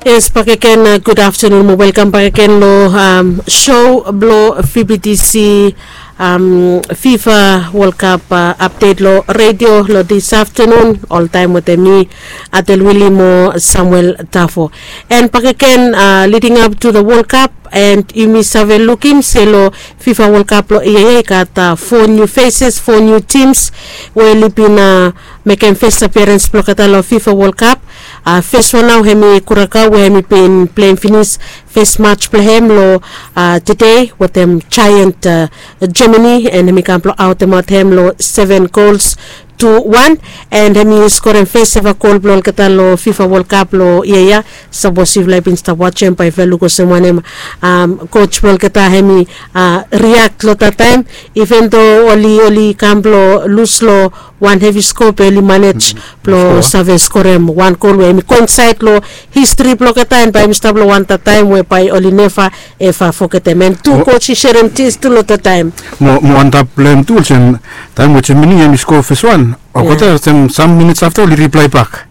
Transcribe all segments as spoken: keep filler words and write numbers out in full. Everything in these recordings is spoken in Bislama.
Yes, bakegen, gud aftenun mo welkam bakegen long sho blong V B T C, FIFA World Cup apdet long redio long dis aftenun, oltaem wetem mi, Adel Wili mo Samuel Tafo. And bakegen, leading up to the World Cup, and yumi save lukim se long FIFA World Cup long yia ya i gat fo niu feses, fo niu tims we oli bin mekem fes apiarens blong olgeta long FIFA World Cup. Fes wan nao hemi Kurakao we hemi bin pleim finis fes mats blong hem long tede wetem jaent Germany, and hemi kam blong aotemaot hem long seven gols tu wan, and hemi skorem fes eva gol blong olgeta long FIFA World Cup long yia ya. Sapos yufala i bin stap wajem bae yufala luk olsem wanem, koj blong olgeta hemi riak long dat taem, iven do oli oli kam blong lus long wan hevi sko be oli manej blong save skorem wan gol we hemi go insaed long histri blong olgeta, and bae hemi stap long wan dat taem we bae oli neva eva fogetem, and tu koj i serem tis tu long dat taem. Mo antap blong hem tu olsem, taem we Germany hemi sko fes wan, olgeta olsem sam minits afta oli riplae bak.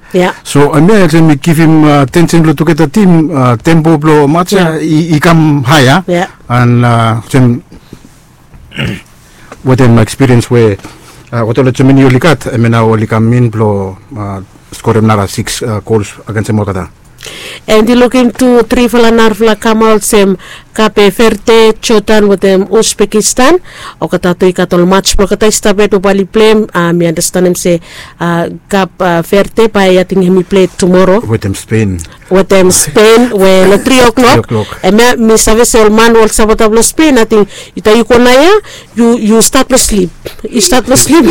So hemia olsem i givim tensen long tugeta tim, tempo blong mats ya i kam hae ya. And olsem wetem ekspiriens we olgeta long Germany oli gat, hemia nao oli kam in blong skorem nara sikis gols agensem olgeta. And i lukim tu trifala narafala kamaot olsem Kape Verde, Jordan wetem Uzbekistan. Olgeta tu i gat ol mats blong olgeta i stap yet we bae oli pleim. Mi andastanem se Kape Verde bae ating hemi plei tumoro wetem Spen. Wetem Spen we long tri o'clock. Hemia mi save se ol man we ol sapota blong Spen ating taem yu go naoia, yu stat blong slip. Yu stat blong slip.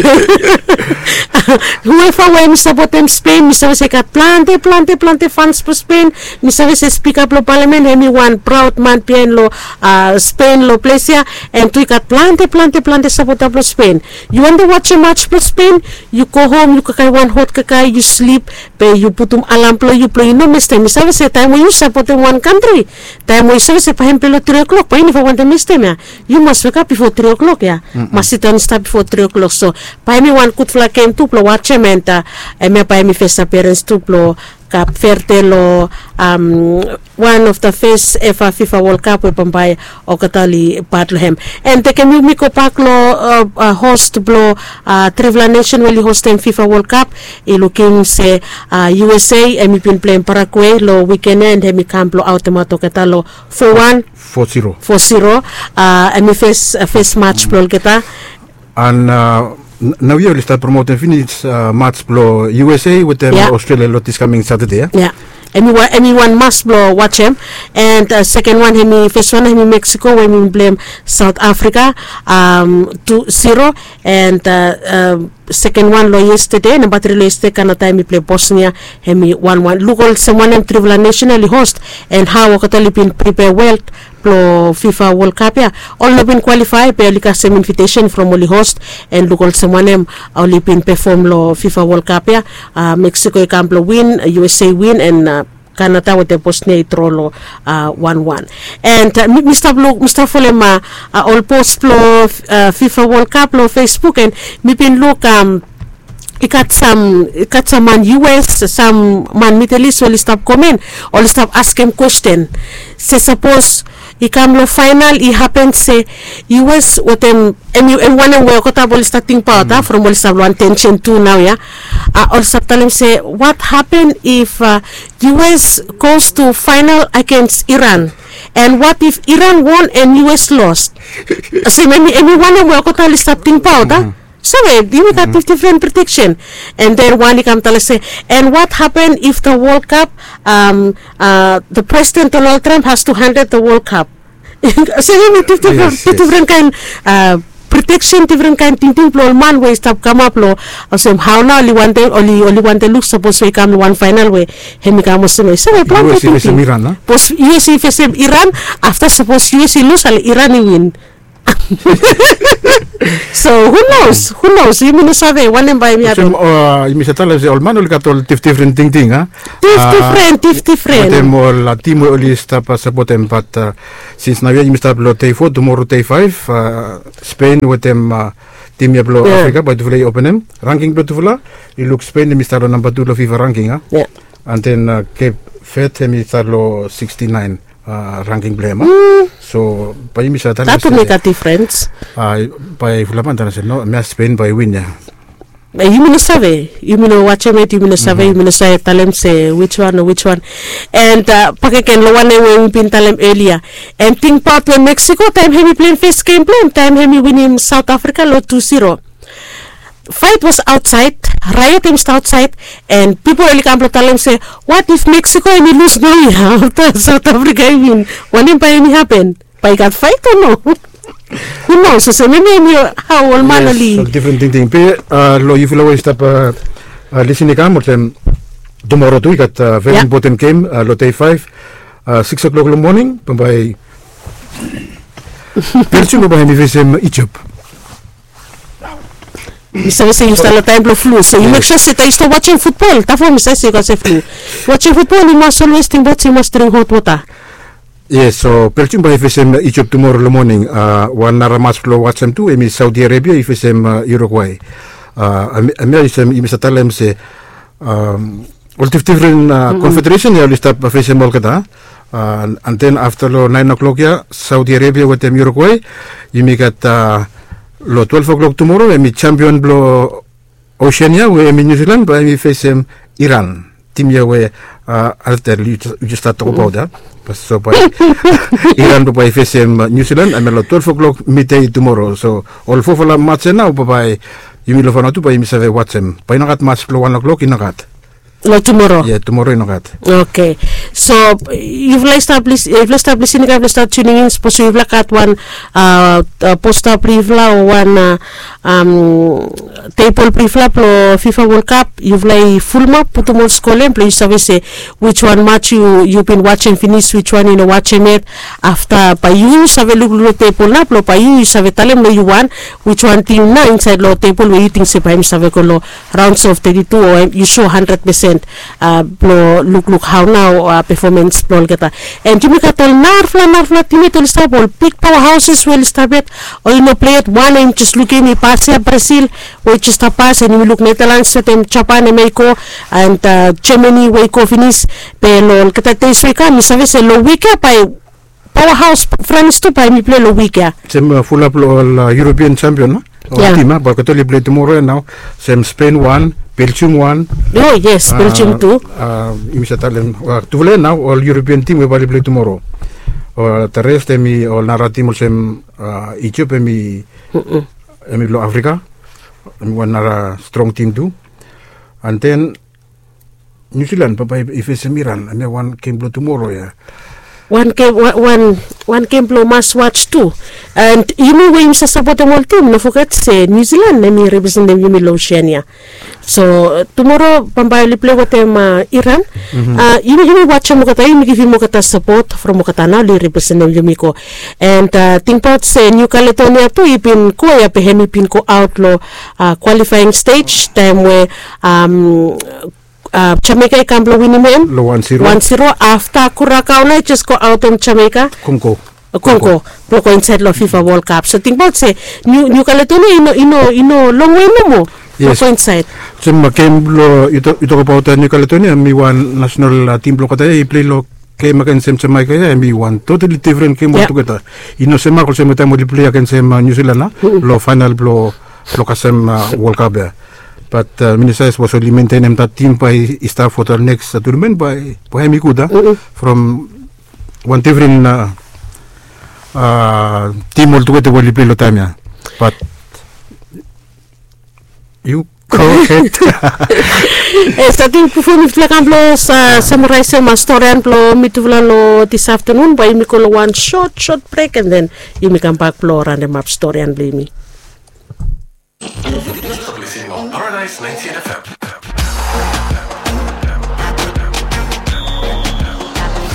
Hueva we hemi sapotem Spen, mi save se i gat plante plante plante fans blong Spen. Mi save se spika blong palamen hemi wan praod man biaen long Spen long ples ya. And tu i gat plante plante plante sapota blong Spen. Yu wantem wajem mats blong Spen, yu go hom, yu kakae wan hot kakae, yu slip, be yu putum alam blong yu blong yu no mestem. Mi save se taem we yu sapotem wan kantri, taem we yu save se bae hem plei long tri o'clock, bae yu neva wantem mestem ya. Yu mas wekap bifo tri o'clock ya. Mas sidaon i stap bifo tri o'clock. So bae hemi wan gudfala gem tu blong wajem, and hemia bae hemi fes apiarens tu blong Kape Verde long wan of the fes eva FIFA World Cup we bambae olgeta oli pat long hem. And tekem yumi gobak long host blong trifala nesen we oli hostem FIFA World Cup. I lukim se USA hemi bin pleim Paraguay long wiken ya, and hemi kam blong aotemaot olgeta long fo wan, fo zero. Hemi fes fes mats blong olgeta. And naoia oli stap promotem finis mats blong USA wetem Australia long dis kaming Satade ya. Hemi wan mas blong wajem. And seken wan hemi, fes wan hemi Mexico we hemi pleim South Africa tu zero. And seken wan long yestade, namba tri long yestade, Canada hemi plei Bosnia, hemi wan wan. Luk olsem wanem trifala nesen oli host, and hao olgeta oli bin pripea wel blong FIFA World Cup ya. Ol no bin kwalifae be oli kasem invitesen from oli host, and luk olsem wanem oli bin pefom long FIFA World Cup ya. Mexico i kam blong win, USA win, and Canada wetem Bosnia i dro long wan wan. And mi stap luk, mi stap folem ol post blong FIFA World Cup long Facebook, and mi bin luk i gat sam, i gat sam man US, sam man Middle East oli stap komen, oli stap askem kwesten se sapos i kam long faenal i hapen se US wetem, hemi wanem we olgeta bae oli stap tingbaot a, from oli stap long wan tensen tu naoia. Oli stap talem se what happen if US goes to final against Iran, and what if Iran won and US lost? Olsem hemi wanem we olgeta oli stap tingbaot a. So we yumi gat difdifren prediksen. And then wan i kam talem se, and what happen if the World Cup, the president Donald Trump has to handed the World Cup? Olsem hemi difdifren kaen prediksen, difren kaen tingting blong ol man we i stap kamap long olsem hao nao oli wantem, oli wantem luk sapos we i kam long wan faenal we hemi kam olsem ya. Olsem we plante tingting. Sapos US i fesem Iran, afta sapos US i lus, ale Iran i win. So who knows, who knows, yumi no save wanem bae hemi hapen. Yumi save talem se ol man oli gat ol difdifren tingting a. Difdifren, difdifren. Wetem ol tim we oli stap sapotem, bat sins naoia yumi stap long dei fo, tumoro dei faef, Spen wetem tim ya blong Afrika bae tufala i openem. Rangking blong tufala, yu luk Spen hemi stap long namba tu long FIFA rangking a. And then Kep Fed hemi stap long sixty nine, ranking blong hem. So bae yumi save talem se, bae fulap man talem se no, hemia Spain bae win ya. Yumi no save, yumi no wajem yet, yumi no save, yumi no save talem se wiswan o wiswan. And bakegen long wanem we yumi bin talem elia, and tingbaot we Mexico taem hemi pleim fes gem blong hem taem hemi winim South Africa long two zero. Fight was outside, riot hemi stap outside, and pipol oli kam blong talem se, what if Mexico hemi lus naoia afta South Africa i win? Wanem bae hemi hapen? Bae i gat fight o no? Who knows? Olsem hemia hemi hao ol man oli. Yes, ol difren tingting be long yufala we i stap lisin i kam olsem, tumoro tu i gat very important gem long dei faef, sikis klok long moning bambae Belgium bambae hemi fesem Ijipt. Mi save se yu stap long taem blong flu, so yu mek sua se taem yu stap wajem futbol, tafo mi save se yu gat se flu. Wajem futbol yu mas olwes tingbaot se yu mas dring hot wota. Yes, so Belgium bae i fesem Ijipt tumoro long moning. Wan nara mas blong wajem tu hemi Saudi Arabia i fesem Uruguay. Hemia olsem yumi save talem se ol difdifren konfederesen ya oli stap fesem olgeta. And then afta long naen oklok ya Saudi Arabia wetem Uruguay. Yumi gat long twelef oklok tumoro hemi jampion blong Oceania we hemi New Zealand bae hemi fesem Iran. Tim ya we Alter yu jes stat tokbaot ya. So bae Iran bae i fesem New Zealand hemia long twelef oklok midei tumoro. So ol fofala mats ya nao bae yumi long fanatu bae yumi save wajem. Bae i no gat mats blong wan oklok i no gat. Long tumoro. Ye tumoro i no gat. Oke. So yufala i stap lisin, yufala i stap lisin i gat, yufala i stap tuning in, sapos yufala gat wan posta blong yufala o wan tebol blong yufala blong Fifa World Cup, yufala i fulumap putum ol skor long hem blong yu save se wiswan mats yu bin wajem finis, wiswan yu no wajem yet. Afta bae yu save lukluk long tebol nao blong bae yu yu save talem long yu wan wiswan tim nao insaed long tebol we yu ting se bae hem save go long rounds of thirty-two o yu sua handred pesen blong lukluk hao nao pefomens blong olgeta. And yumi gat ol narafala narafala tim yet oli stap, ol big power houses we oli stap yet o i no plei yet. Wan o yumi jes lukim i pas ya, Brazil we i jes stap pas, and yumi luk Netherlands wetem Japan hemia i go, and Germany we i go finis. Be long olgeta dei so i kam mi save se long wik ya bae power haos Frans tu bae hemi plei long wik ya. Sem fulap long ol European champion, ol tim ya bae olgeta oli plei tumoro ya nao. Sem Spain wan, Belgium wan. O yes, Belgium tu. Yumi save talem tufala ya nao ol European tim we bae oli plei tumoro. Ol the rest hemi ol nara tim olsem Ijipt hemi, hemi long Afrika, hemi wan nara strong tim tu. And then Niu Silan bambae i fesem Iran, hemia wan gem blong tumoro ya. Wan gem, wan gem blong mas waj tu. And yumi we yumi save sapotem ol tim, no foget se Niu Silan hemi representem yumi long Oseania. So tumoro bambae oli plei wetem Iran. Yumi wajem olgeta, yumi givim olgeta sapot from olgeta nao oli representem yumi go. And tingbaot se Niu Kaledonia tu i bin go ya be hemi bin go aot long kwalifaing stej taem we Jamaica i kam blong winim hem long wan ziro. Wan ziro afta Kurakao nao i jes go aotem Jamaica. Kongo. Kongo blong go insaed long Fifa World Cup. So tingbaot se Niu Kaledonia i no, i no longwe nomo blong go insaed. Olsem gem blong yu tokbaot Niu Kaledonia, hemi wan nasenal tim blong olgeta ya i plei long gem agensem Jamaica ya, hemi wan totali difren gem oltugeta. I no semak olsem taem oli plei agensem Niu Silan long faenal blong blong kasem World Cup ya. Bat mi no save sapos oli mentenem dat tim bae i stap fo dat neks tunamen bae hemi gud a, from wan difren tim oltugeta we oli plei long taem ya. Bat yu go hed. Yes, ating bifo mifala kam blong samaraesem storian blong mitufala long dis aftanun, bae yumi go long wan sot sot brek, and then yumi kambak blong ranemap storian blong yumi. Paradise ninety-eight F M.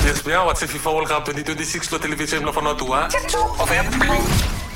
Yes, we are watching FIFA World Cup twenty twenty-six lo television lo Vanuatu, ah.